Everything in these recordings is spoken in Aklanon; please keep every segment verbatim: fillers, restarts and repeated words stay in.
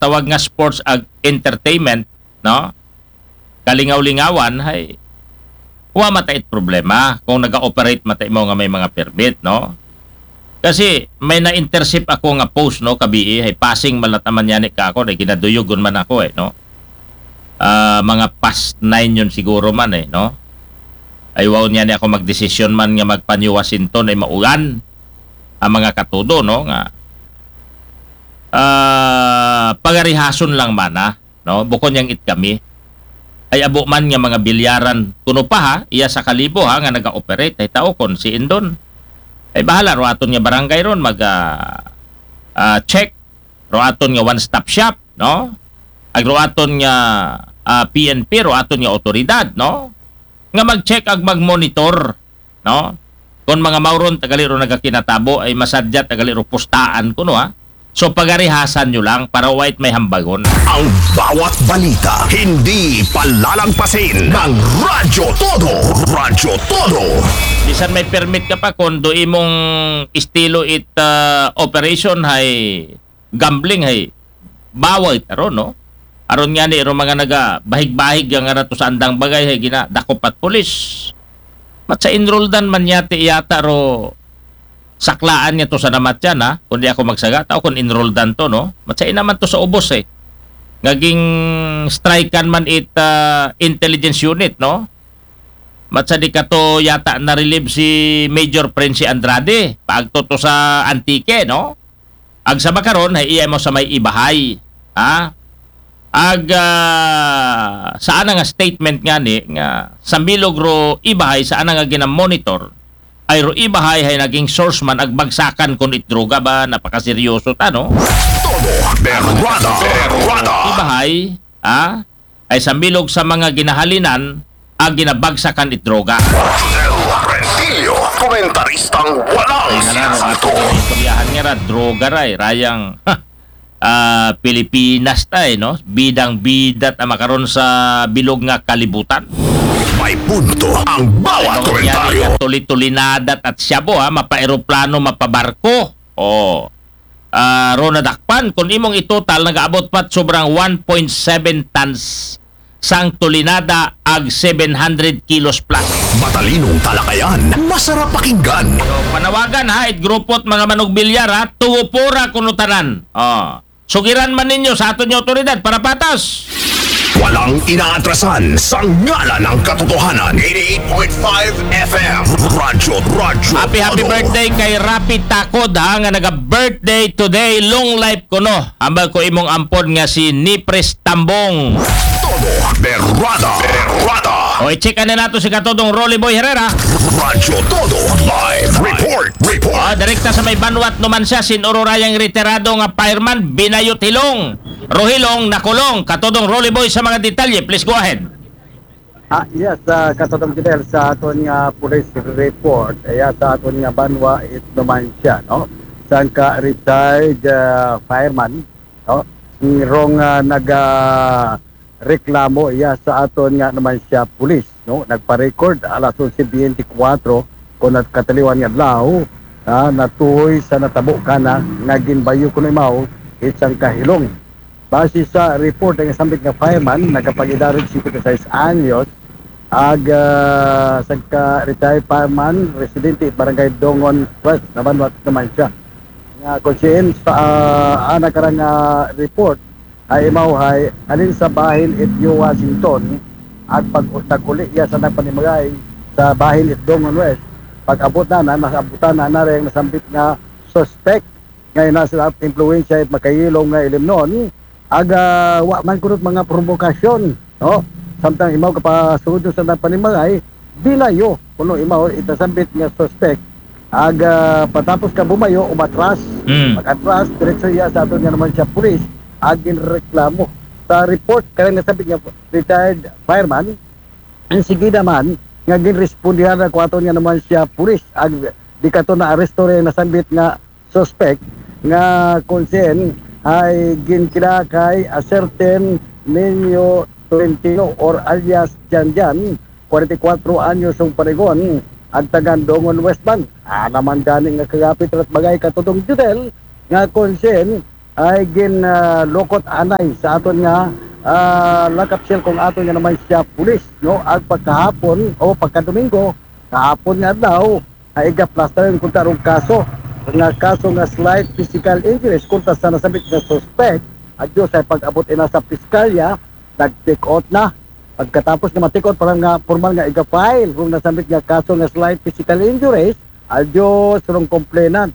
tawag nga sports ag entertainment, no? Kalingaw-lingawan, hay, wa mata it problema kung naga-operate mata imo nga may mga permit, no? Kasi may na-intercept ako nga post, no, kabii, hay, passing man lang ta man yani ka ako, hay, ginaduyugon man ako, eh, no? Ah, mga past nine yun siguro man, eh, no? Ay, wow niya ni ako magdesisyon man nga magpanyuwasinton ay maugan ang mga katudo, no, nga, ah, pagarihason lang man, ah, no? Bukon yang it kami. Ay, abo man nga mga bilyaran, kuno pa, ha, iya sa kalibo, ha, nga naga-operate, ay tao kon si Indon. Ay, bahala, ro aton nga barangay ron, mag, ah, ah, check, ro aton nga one-stop shop, no? Ag ro aton nga, ah, P N P, ro aton nga otoridad, no? Nga mag-check ag mag-monitor, no? Kon mga mauron, tagali ro nagakinatabo, ay masadya, tagali ro pustaan kuno, ha? So, pagarihasan nyo lang para wait may hambagon. Ang bawat balita, hindi palalangpasin ng Radyo Todo. Radyo Todo. Bisan may permit ka pa, kung do imong estilo it, ah, operation, hay gambling, hay bawal taro, no? Aron nga ni, ro mga naga bahig-bahig nga rato sa andang bagay, hay gina, dakop at pulis. Mat sa enrolldan man yati yata ro saklaan niya to sa namatyan, ha? Kundi ako magsaga, tao kung enrolldan to, no? Mat sa inaman to sa ubos, eh. Ngaging strikean man it, ah, intelligence unit, no? Mat sa di ka to yata na-relieve si Major Prince Andrade. Paagto to sa Antique, no? Ag sa makaron, hay iya mo sa may ibahay. Ha? Ag, ah, sa ana nga statement nga ni, nga sa milog ro ibahay, sa ana nga ginamonitor, ay ro ibahay, hay naging source man ag bagsakan kun it droga ba, napakaseryoso ta, no? Todo berrada, berrada. Ibahay, ha? Ay sa milog sa mga ginahalinan, ag ginabagsakan it droga. Judel Rentillo, komentaristang walang Ay, nga na, sinasato. Istoryahan nga ra, droga ra, eh, rayang, ah, Pilipinas ta, eh, no? Bidang-bida ta makaron sa bilog nga kalibutan. May punto ang bawat Ano komentaryo. Nangyari ka, tuli-tulinada at shabu, ha? Mapa-eroplano, mapabarko. Oh. Ah, ro nadakpan, kung imong itotal, nagaabot pat sobrang one point seven tons sang tulinada ag seven hundred kilos plus. Matalinong talakayan, masarap pakinggan. So, panawagan ha, it grupo at mga manugbilyar ha, tuwo pura kuno tanan. Oh. Sugiran man ninyo sa aton nga otoridad para patas. Walang inaatrasan sa ngalan ng katotohanan. Eighty-eight point five F M. Radyo, radyo. Happy, happy Todo. Birthday kay Rapi Takod ha, nga naga-birthday today. Long life kuno. Ambal ko imong ampon nga si Nipres Tambong. Todo berrada. Berrada. O, i-check na nato si Katodong Rolly Boy Herrera. Radyo Todo live report. Report. Ah, direkta sa may Banwat naman siya, sin Ururayang retirado nga fireman, binayot hilong. Rohilong, nakulong. Katodong Rolly Boy sa mga detalye. Please go ahead. Ah, yes, ah, Katodong Fidel, sa aton nga police report, iya sa aton nga banwa, it naman siya, no? Sangka retired, ah, fireman, no? Rong, ah, naga reklamo iya sa aton nga naman siya pulis, no? Nagpa-record alas onse biyente kwatro kon at kataliwan nga adlaw, ah, natuhoy sa natabo kana nga ginbayo kuno imaw isang kahilong. Base sa report, ang sambit nga fireman, nagapag-edad og singkwenta y seis anyos, ag, ah, sangka retired fireman, residente barangay Dongon West, Nabanwat naman siya. Nga kung siya sa, ah, ana karang, ah, report, ay imaw hay, halin sa bahin it New Washington, at pag nag-uli iya sa nagpanimagay sa bahin it Dongon West, pag-abot na, na, nasabutan na, na rin nasambit nga suspect, nga ina sila impluwensya it makayilong nga ilimnon, aga wa man kunot mga provokasyon, no? Samtang imaw kapasud sa nagpanimagay, binayo, kuno imaw itasambit nga suspect, aga patapos ka bumayo, umatras, Mm. pag-atras, diretso iya sa aton nga naman siya pulis, ag ginreklamo. Sa report, karang nasambit nga retired fireman, ang sige naman, nga ginrespondihan na ko aton nga naman siya pulis, ag di kato na aresto rin nasambit nga suspect nga kung siyen ay ginkilala kay a certain Nino Tolentino or alias Janjan, forty-four anyos ang parigon, ag taga Dongon West man. Ah, naman gani nga kagapit rat bagay Katodong Judel nga kung siyen ay gin ah, lukot anay sa aton nga ah, lock-up cell kung aton nga naman siya pulis, no? Ag pagkahapon o pagkadomingo, kahapon nga adlaw, ay igaplastayon kunta rong kaso nga kaso nga slight physical injuries kunta sa nasabit nga suspect. Adyo sa pag-abot ina sa piskalya, nag-take out na. Pagkatapos nga ma-take out para nga formal nga iga-file rong nasabit nga kaso nga slight physical injuries, adyo sa rong complainant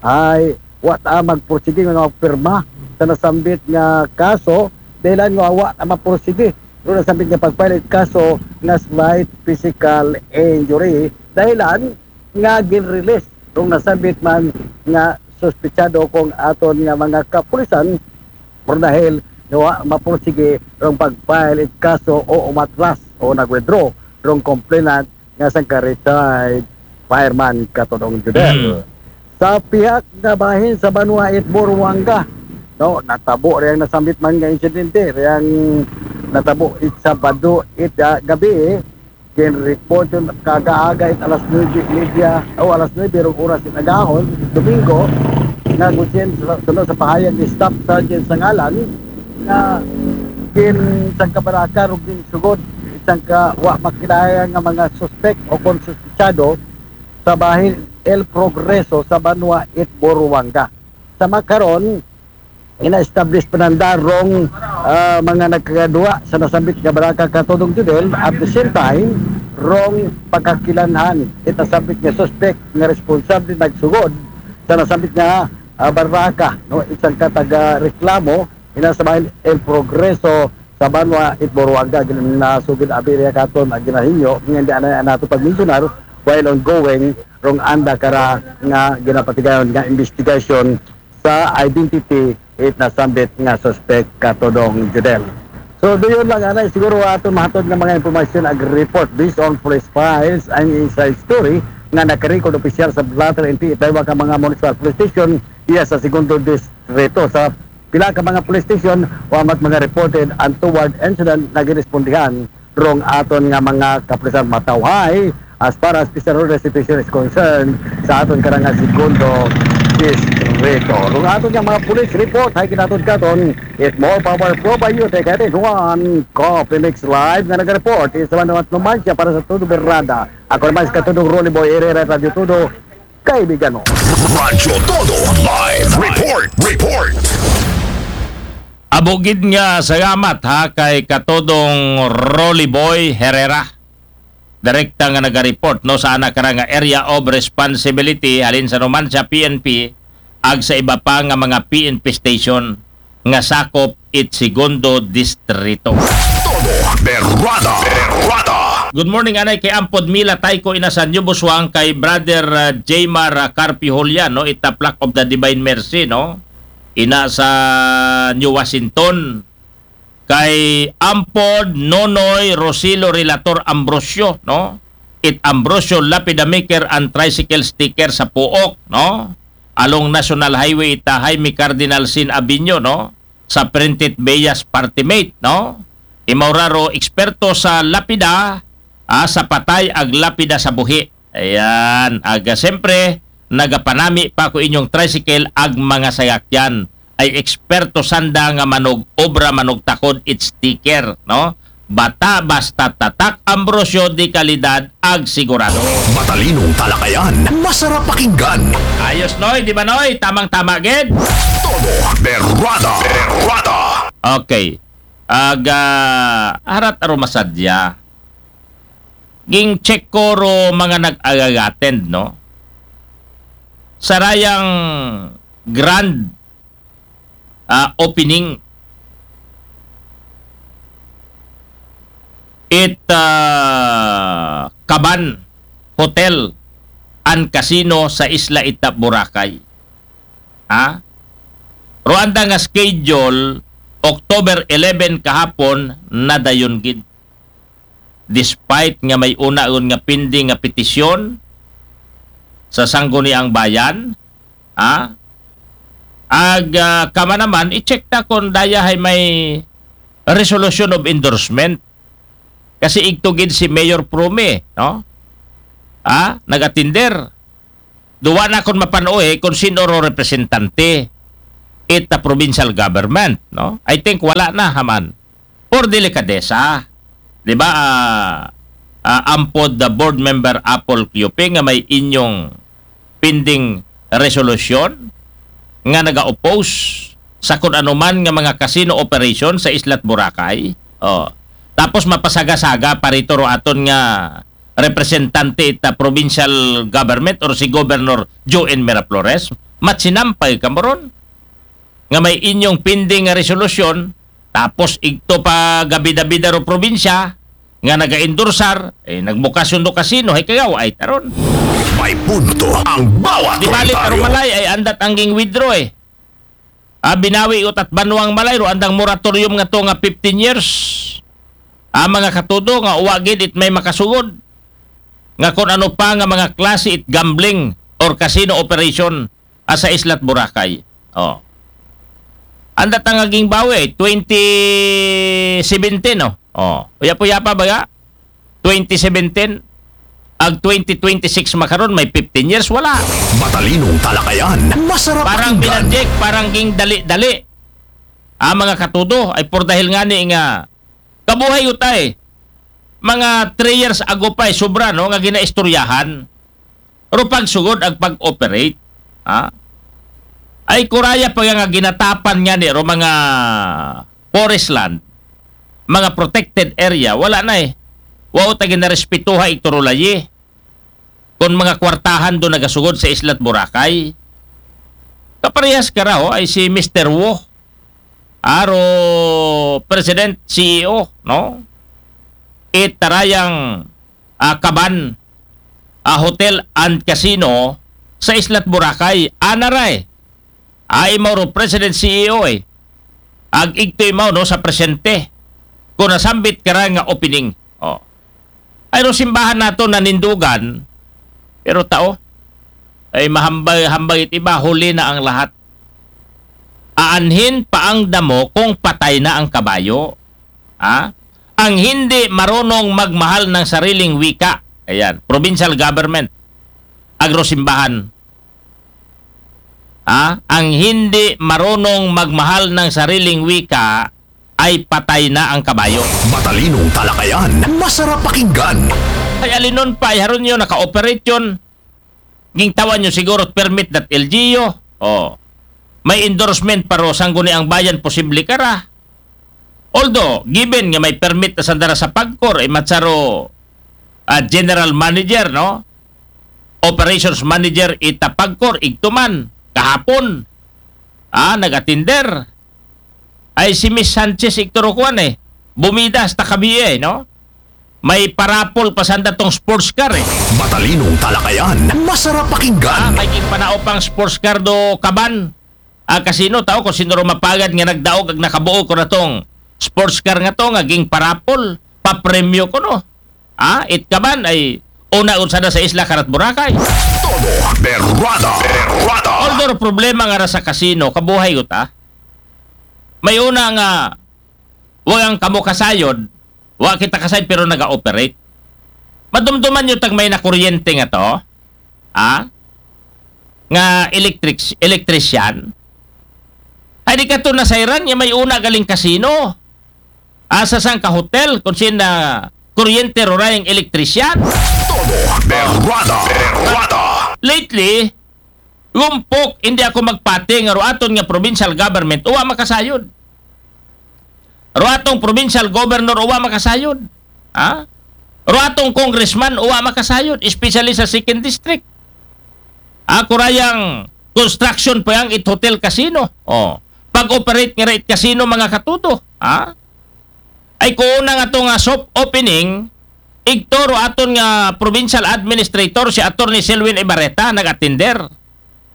ay wa ta magpursige nga magpirma sa nasambit nga kaso, dahilan nga wa ta mapursige rong nasambit nga pag-file kaso nga slight physical injury, dahilan nga gin-release rong nasambit man nga suspetsado kung aton nga mga kapulisan, pero dahil nga wa mapursige rong pag-file it kaso o umatras o nag-withdraw rong complainant nga sangka retired fireman Katodong Judel. Mm. Sa pihak nga bahin sa banwa it Boruanga, no, natabo riyang nasambit man nga insidente, riyang natabo it Sabado it ah, gabi, gin-report yun kagaaga it alas nuebe media o alas nuebe rong oras it agahon, Domingo, nga gusin sa, sa pahayag ni Staff Sergeant Sangalan, nga gin sangka baraka rong ginsugod sangka wa makilala nga mga suspect o kon suspetsado sa bahin El Progreso sa banwa it Boruanga. Sa makaron, ina-establish pa nanda rong ah, mga nagkagaduwa sa nasambit nga baraka Katodong Judel, at the same time rong pagkakilanhan it nasambit nga suspect nga responsable nagsugod sa nasambit nga ah, baraka, no, isang kataga reklamo ina sa bahin El Progreso sa banwa it Boruanga. Ginasugid abi riya katon ang ginahinyo nga hindi anay nato pagmensionar while ongoing rong anda kara nga ginapatigayon nga investigation sa identity it nasambit nga suspect Katodong Judel. So, doon lang anay siguro aton mahatod nga mga impormasyon ag report based on police files and inside story nga nakarecord opisyal sa Blatter N P A, daywa ka mga municipal police station iya sa segundo distrito. Sa pila ka mga police station, wa mat mga reported untoward incident na girespondihan rong aton nga mga kapulisan matawhay as far as Pizarro situation is concerned sa aton karang nga segundo distrito. Rong aton nga mga police report, hay kinatod katon, it more power po ba you take it in one Coffee Mix Live nga nag-report. Isa man naman naman siya para sa Todo Berrada. Ako naman si Katudong Rolly Boy Herrera, Radio Todo, kaibigan mo. Radyo Todo Live Report. Report. Abugid nga salamat ha kay Katodong Rolly Boy Herrera. Direkta nga nagareport, no, sa ana kara nga area of responsibility halin sa Numancia P N P ag sa iba pa nga mga P N P station nga sakop it segundo distrito. Todo Berrada. Berrada. Good morning, anay kay Ampod Mila Tayko ina sa New Busuang, kay Brother uh, Jmar uh, Carpi Julian, no, ita Plaque of the Divine Mercy, no, ina sa New Washington, kay Ampod Nonoy Rosilo Relator Ambrosio, no, it Ambrosio Lapida Maker and Tricycle Sticker sa Puok, no, along National Highway ita Jaime Cardinal Sin Avenue, no, sa Printed Bellas Party Mate, no? Imauraro eksperto sa lapida, ah, sa patay ag lapida sa buhi. Ayan, aga siyempre, nagapanami pa ko inyong tricycle ag mga sayakyan. Ay eksperto sanda nga manog obra, manog takod, it sticker, no? Bata basta tatak, Ambrosio, de kalidad ag sigurado. Matalinong talakayan, masarap pakinggan. Ayos, Noy, di ba, Noy? Tamang-tama gid. Todo Berrada. Berrada. Okay. Aga, harat aro masadya. Ging check ko ro mga nag-attend, no? Sarayang grand ah, opening it ah, Kaban Hotel and Casino sa Isla Itap, Boracay. Ha? Pero anda nga schedule, October eleven kahapon, nadayon gid. Despite nga may unaon nga pending nga petisyon sa Sangguniang Bayan, ha? Ag ah, kama naman, i-check ta kung daya hay may resolution of endorsement. Kasi igtugid si Mayor Prome, no? Ha? Nag-attender. Duwa na akong mapanuhi kung sino ro representante. it the provincial government, no? I think wala na, ha man. For delikadesa, di ba, ah, ah, ampod the board member Apple Cuping nga may inyong pending resolution nga naga-oppose sa kun ano man nga mga casino operation sa Isla't Boracay. Oh. Tapos mapasaga-saga pa rito ro aton nga representante ita provincial government or si Governor Joe N. Miraflores, matsinampay ka mo ron nga may inyong pending nga resolusyon, tapos igto pa gabida-bida ro probinsya nga naga-endorsar, eh, nagbukasyon do kasino, hay kagawa ay taron. May punto ang bawat Di bali, pero komentaryo. Malay ay andat ang ging withdraw eh. Ah, binawi utat banwang Malay ro andang moratorium nga to nga fifteen years. Ah, mga katudo nga uwa gid it may makasugod nga kun ano pa nga mga klase it gambling or casino operation, ah, sa Isla't Boracay. Oh. Andat ang ging bawi, twenty seventeen, no? Oh. Uya-uya pa baga? Twenty seventeen, ag twenty twenty-six makaron, may fifteen years, wala. Matalinong talakayan, masarap Parang pakinggan. Bilanjek, parang ging dali-dali. Ah, mga katudo, ay por dahil nga ni nga kabuhay utay. Mga three years ago pa, eh, sobra, no, nga ginaistoryahan. Ro pagsugod ag pag-operate. Ha? Ay kuraya pa nga ginatapan nga ni ro mga forest land, mga protected area, wala na eh. Wa ta ginarespetuha ito ro layi. Kung mga kwartahan do nagasugod sa Isla't Boracay, kaparehas ka raw ay si Mister Wu, aro President C E O, no? Itarayang, ah, kaban, ah, hotel and casino sa Isla't Boracay, anaray. Ay mauro President C E O eh. Ag igto imaw no sa presente. Kung nasambit ka ra nga opening. Oh. Ay no simbahan nato nanindugan. Pero tao, ay mahambay-hambay it iba, huli na ang lahat. Aanhin pa ang damo kung patay na ang kabayo. Ha? Ang hindi marunong magmahal ng sariling wika. Ayan, provincial government. Agrosimbahan. Ha? Ang hindi marunong magmahal ng sariling wika ay patay na ang kabayo. Matalinong talakayan, masarap pakinggan. Ay alinon pa, ay haron yun, naka-operate yun. Gingtawan nyo siguro permit dot L G U. Oh. May endorsement pa ro sangguniang bayan, posible ka ra. Although, given nga may permit na sandara sa PAGCOR, ay matsaro, ah, general manager, no? Operations manager ita PAGCOR, igtuman, kahapon. Ah, nag-atinder. Ay si Miss Sanchez igturo kuan eh. Bumida hasta kabiye, no? May parapol pa sanda tong sports car eh. Matalinong talakayan, masarap Ah, pakinggan. kay king panao pang sports car do kaban. Ah, kasino tao kung sino ro mapagad nga nagdaog ag nakabuo ko na tong sports car nga to nga ging parapol, papremyo ko no. Ah, it kaban ay una unsada sa isla karat Boracay. Todo berrada, berrada. Although problema nga ra sa kasino, kabuhay ko ta. May una nga wagang kamo kasayod, wa kita kasayod pero naga-operate. Madumduman nyo tag may nakuryente nga to, ha? Nga electric, electrician. Ay di ka to nasayran nga may una galing kasino. Asa sang ka hotel kung sin na kuryente ro rayang electrician. Todo berrada, berrada. Lately, lumpok, hindi ako magpati nga ro aton nga provincial government, uwa makasayod. Ro atong provincial governor, uwa makasayod. Ha? Ro atong congressman, uwa makasayod, especially sa second district. Ako rayang construction pa yang it hotel casino. Oh. Pag-operate nga ra it casino, mga katuto. Ha? Ay kuuna nga to nga soft opening, igturo aton nga provincial administrator si Attorney Selwyn Ibarreta nag-atinder.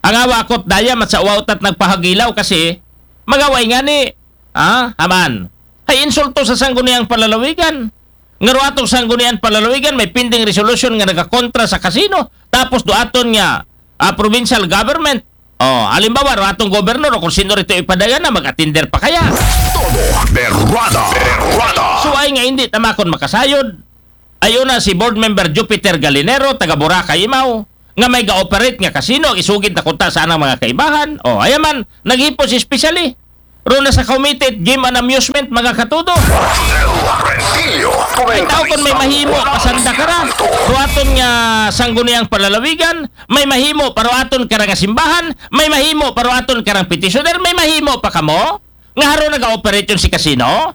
Ang awa akot daya mat sa uwawtat nagpahagilaw kasi magaway nga ni, ah, haman. Ay insulto sa sangguniang palalawigan. Nga ro atong sangguniang palalawigan may pending resolution nga nagakontra sa kasino. Tapos do aton nga ah, provincial government. Oh, halimbawa, ro atong governor o kung sino rito ipadagan na mag-atinder pa kaya. Todo berrada, berrada. So ay nga hindi tamakon makasayod. Ayun na si board member Jupiter Galinero, taga Boracay Imaw. nga may ga-operate nga casino, isugid na kunta sa anang mga kaibahan. O, ayaman, naghipos especially. Ro na sa committed game and amusement, mga katudo. Ay tao kon may mahimo, pasanda ka ra. Ro aton nga sangguniang palalawigan, may mahimo para aton kara nga simbahan, may mahimo para aton karang petitioner, may mahimo pa kamo nga haro naga-operate si casino.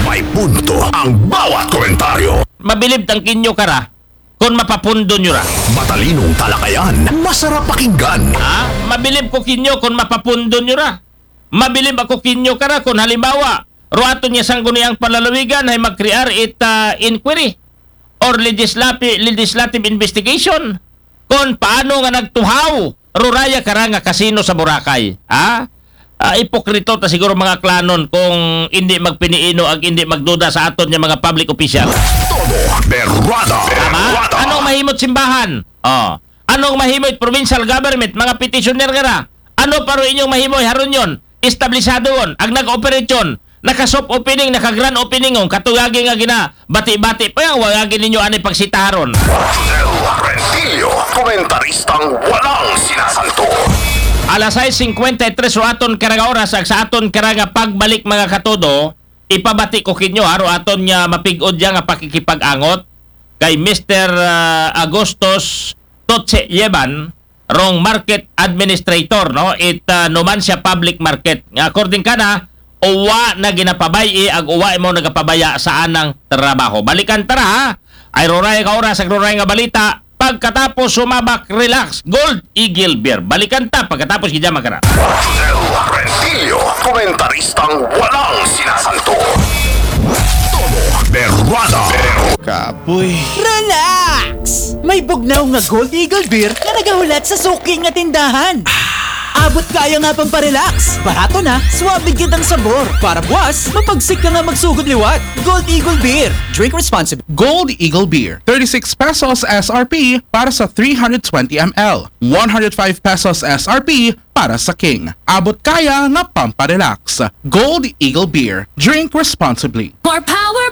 May punto ang bawat komentaryo. Mabilib tang kinyo kara kon mapapundo nyo ra. Matalinong talakayan, masarap pakinggan. Ha? Mabilib ko kinyo kon mapapundo nyo ra. Mabilib ako kinyo kara kon halimbawa, ro aton nga sangguniang palalawigan ay mag-create it, ah, inquiry or legislative, legislative investigation kon paano nga nagtuhaw ruraya kara nga kasino sa Boracay. Ha? Ah, ipokrito ta siguro mga klanon kung hindi magpiniino ag hindi magduda sa aton nga mga public official. Todo berrada. Tama? Berrada. Anong mahimot simbahan? Oh. Anong mahimot provincial government, mga petitioner nga ra? Ano pa ro inyong mahimo haron yon? Establisado on, ag nag-operate yon, naka-soft opening, naka-grand opening on, katuyagi nga gina, bati-bati pa yan, wagagi ninyo ani pagsitaharon. Rodel Rentillo, komentaristang walang sinasanto. Alas sais singkwenta y tres ro aton karang oras, ag sa aton karang pagbalik, mga katudo, ipabati ko kinyo, haro aton nga mapig-od ya nga pakikipag-angot kay Mister, ah, Agustos Totse Yeban, rong market administrator, no? It, ah, Numancia Public Market. Nga according kana, uwa na ginapabay-i ag uwa imo nagapabaya sa anang trabaho. Balikan ta ra, ha? Ay ruray ka oras ag ruray nga balita. Pagkatapos sumabak, relax. Gold Eagle Beer. Balikan ta pagkatapos gidya magkara. Rodel Rentillo, komentaristang walang sinasanto. Todo berrada. Kapoy. Relax! May bugnaw nga Gold Eagle Beer nga nagahulat sa suki nga tindahan. Abot kaya nga pamparelax. Barato na, suabe gyud ang sabor. Para buwas, mapagsik ka nga magsugod liwat. Gold Eagle Beer. Drink responsibly. Gold Eagle Beer, thirty-six pesos S R P para sa three hundred twenty M L, one hundred five pesos S R P para sa King. Abot kaya nga pamparelax. Gold Eagle Beer. Drink responsibly. More power